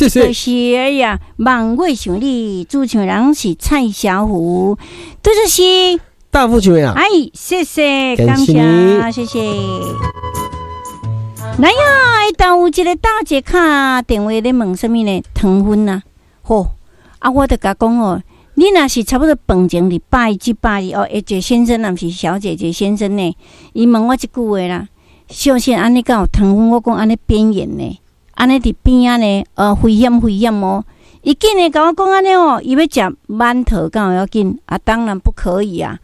謝謝。就是哎呀，望月想你，主唱人是蔡小虎，這就是大富唱的。哎，謝謝，感謝，謝謝。來呀，下晝有一個大姐敲電話咧問啥物呢？糖分啊，好，啊，我就共講哦，你若是差不多飯前佇100至120哦，一個先生，抑毋是小姐姐先生呢？伊問我這句話啦，小心按呢敢有糖分？我講按呢邊緣呢，按呢佇邊仔呢，危險危險哦！伊竟然共我講按呢哦，伊欲食饅頭敢有要緊啊？當然不可以啊！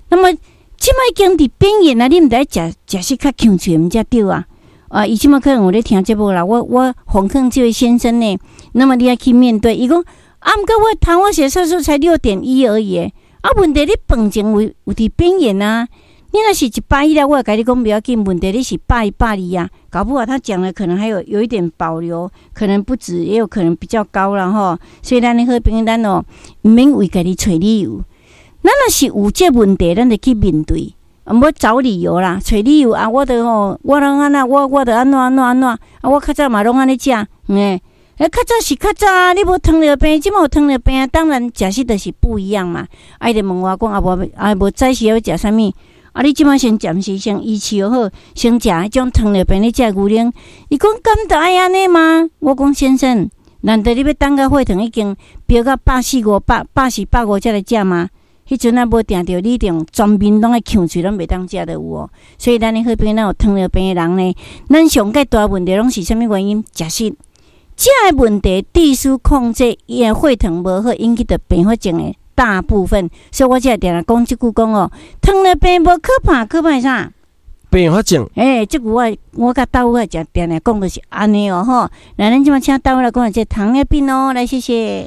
那麼這擺已經佇邊緣啊，你毋知食食食較強喙毋才對啊！啊，伊這擺可能有咧聽節目啦。我奉勸這位先生呢，那麼你愛去面對。伊講啊，毋過我糖化血色素才6.1而已，啊，問題你飯前有佇邊緣啊。你若是110了，我會共你講不要緊。問題你是110、120啊，搞不好他講的可能還有一點保留，可能不止，也有可能比較高啦吼。所以咱的好朋友，咱哦，毋免為家己揣理由。咱若是有這問題，咱就去面對。毋好找理由啦，揣理由啊！我著吼，我攏按怎，我著按怎按怎按怎啊！我較早嘛攏按呢食，欸，較早是較早啊！你無糖尿病，這馬有糖尿病，當然食食就是不一樣嘛。啊，伊就問我講啊，無啊無早時欲食啥物？啊，你這馬先暫時先維持好，先食彼種糖尿病咧食牛奶。伊講敢著愛按呢嗎？我講先生，難道你欲等到血糖已經飆到140、5百、140、150才來食嗎？彼陣啊無定著，你一定全面攏愛嗆喙，攏袂當食都有哦。所以咱的好朋友，咱有糖尿病的人呢，咱上蓋大問題攏是啥物原因？食食，這个問題必須控制，伊的血糖無好引起著併發症的大部分。所以我才會定定講這句講哦，糖尿病無可怕，可怕啥？併發症。欸，這句我我佮豆我誠定定講就是按呢哦吼。來，咱這馬請豆來講這糖尿病哦，來謝謝。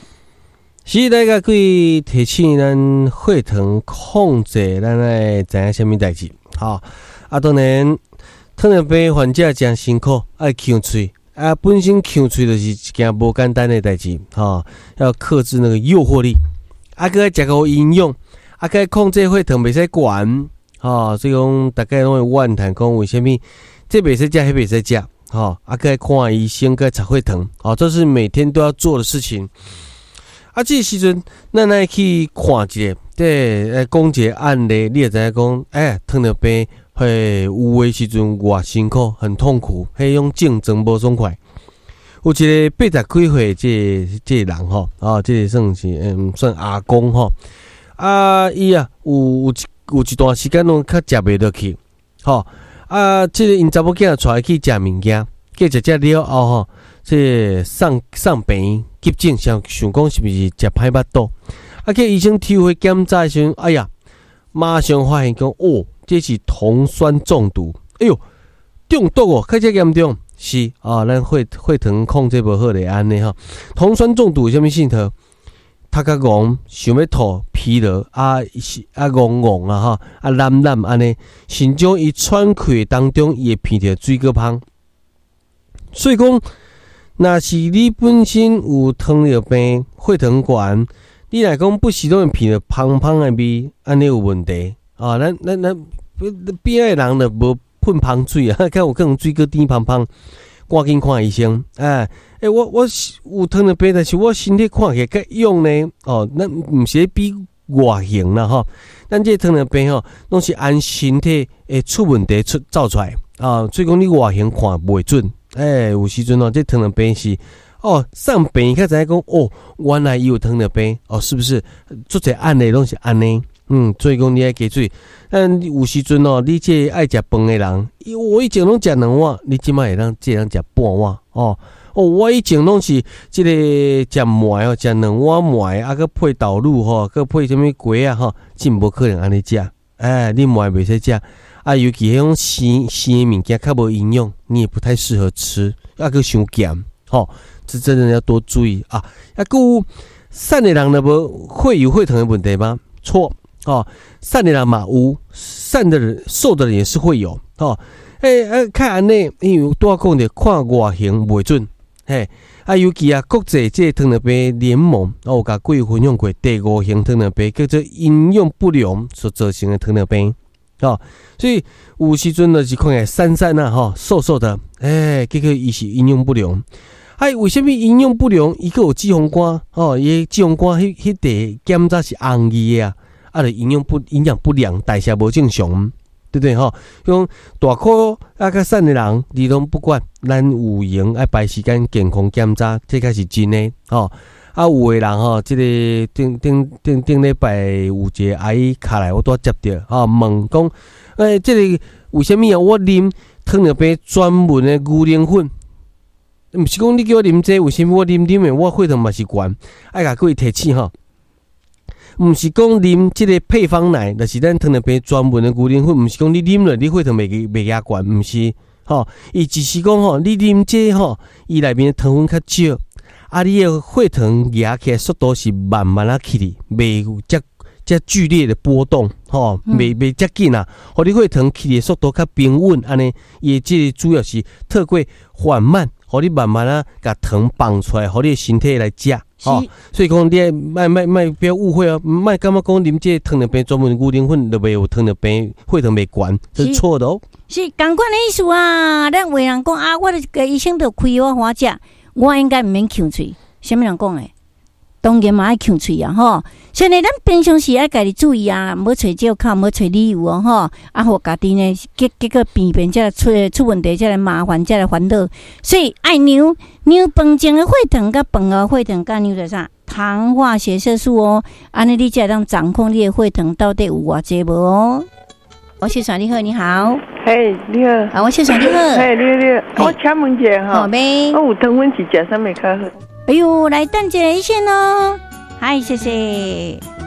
是來共各位提醒咱血糖控制，咱愛知影啥物代誌？吼啊，當然糖尿病患者誠辛苦，愛嗆喙啊，本身嗆喙就是一件無簡單的代誌，吼，要克制那個誘惑力，啊，閣愛食夠營養，啊，閣愛控制血糖袂使懸，吼，所以講逐家攏會怨嘆講為啥物這袂使食，彼袂使食，吼，啊，閣愛看醫生，閣愛查血糖，吼，這是每天都要做的事情。啊，這個時陣，咱來去看一下，這來講一個案例，你會知影講，欸，糖尿病會有的時陣偌辛苦，很痛苦，彼種症狀無爽快。有一個80幾歲這個人吼，啊，這個算是算阿公吼，啊，伊啊有一段時間攏較食袂落去，吼，啊，這個𪜶查某囝帶伊去食物件，結食食了後吼，這個送病院急診，想想講是毋是食歹腹肚？啊，去醫生抽血檢查的時陣，哎呀，馬上發現講，哦，這是酮酸中毒。哎喲，中毒哦，較這嚴重？是啊，咱血糖控制無好就按呢吼。酮酸中毒有啥物症狀？頭殼戇，想欲吐，疲勞啊，是啊，戇戇啊吼，啊，懶懶按呢，甚至伊喘氣當中，伊會鼻著水果芳。所以講，若是你本身有糖尿病、血糖懸，你若講不時攏會鼻著芳芳的味，按呢有問題啊！咱邊仔的人就無噴芳水啊，較有可能水果甜芳芳，趕緊看醫生。哎，欸，我是有糖尿病，但是我身體看起來較勇呢。哦，咱毋是咧比外形啦吼，咱這個糖尿病吼，攏是按身體會出問題出走出來啊。所以講你外形看袂準。欸，有時陣哦，這糖尿病是哦，送病院才知影講哦，原來伊有糖尿病哦，是不是？足濟案例攏是按呢，所以講你愛加注意。但有時陣哦，你這愛食飯的人，我以前攏食兩碗，你這擺會當這當食半碗哦。哦，我以前攏是這個食糜哦，食兩碗糜，啊，閣配豆乳吼，閣配啥物粿仔吼，真無可能按呢食。欸，你糜袂使食。啊，尤其彼種生生的物件較無營養，你也不太適合吃，啊，閣傷鹹，吼，這真的要多注意啊。啊，閣有瘦的人就無會有血糖的問題嗎？錯，哦，瘦的人嘛有，瘦的人瘦的人也是會有，吼，欸，啊，較按呢，因為拄仔講著看外形袂準，嘿，啊，尤其啊，國際這個糖尿病聯盟，我有共各位分享過第五型糖尿病叫做營養不良所造成的糖尿病。哦，所以有時陣就是看起來瘦瘦啊，吼，瘦瘦的，欸，結果伊是營養不良。哎，為啥物營養不良？伊閣有脂肪肝，吼，伊脂肪肝彼彼塊檢查是紅字的啊，啊，就營養不良，代謝無正常，對不對吼？講大箍啊較瘦的人，你攏不管，咱有閒愛排時間健康檢查，這才是真的吼。啊，有的人吼，這個頂頂頂頂禮拜有一個阿姨敲來，我拄仔接著吼，問講，欸，這個為啥物啊？我啉糖尿病專門的牛奶粉。毋是講你叫我啉這個，為啥物我啉啉的，我血糖嘛是懸？愛共各位提醒吼，毋是講啉這個配方奶，就是咱糖尿病專門的牛奶粉，毋是講你啉了你血糖袂加懸，毋是吼，伊只是講吼，你啉這個吼，伊內面的糖分較少，啊，你的血糖壓起來速度是慢慢仔起去，袂有遮遮劇烈的波動，吼，袂遮緊啊，予你血糖起的速度較平穩，按呢，伊的這個主要是透過緩慢。予你慢慢仔共糖放出來，予你的身體來食，吼。所以講你愛莫莫莫不要誤會哦，莫感覺講啉這個糖尿病專門牛奶粉就袂有糖尿病，血糖袂懸，這是錯的哦。是仝款的意思啊！咱有的人講啊，我的醫生就開我花食，我應該毋免劵喙。啥物人講的？當然嘛愛劵喙啊！吼，所以呢，咱平常時愛家己注意啊，毋好揣借口，毋好揣理由哦，吼。啊，予家己呢，結果病變才來出問題，才來麻煩，才來煩惱。所以愛量量飯前的血糖，佮飯後血糖，佮量著啥？糖化血色素哦。按呢，你才會當掌控你的血糖到底有偌濟無哦。王先生你好，你好。嘿，你好。啊，王先生你好。嘿，你好，你好。我請問一下吼，我有糖分是食啥物較好？哎喲，來等一下醫生哦。嗨，謝謝。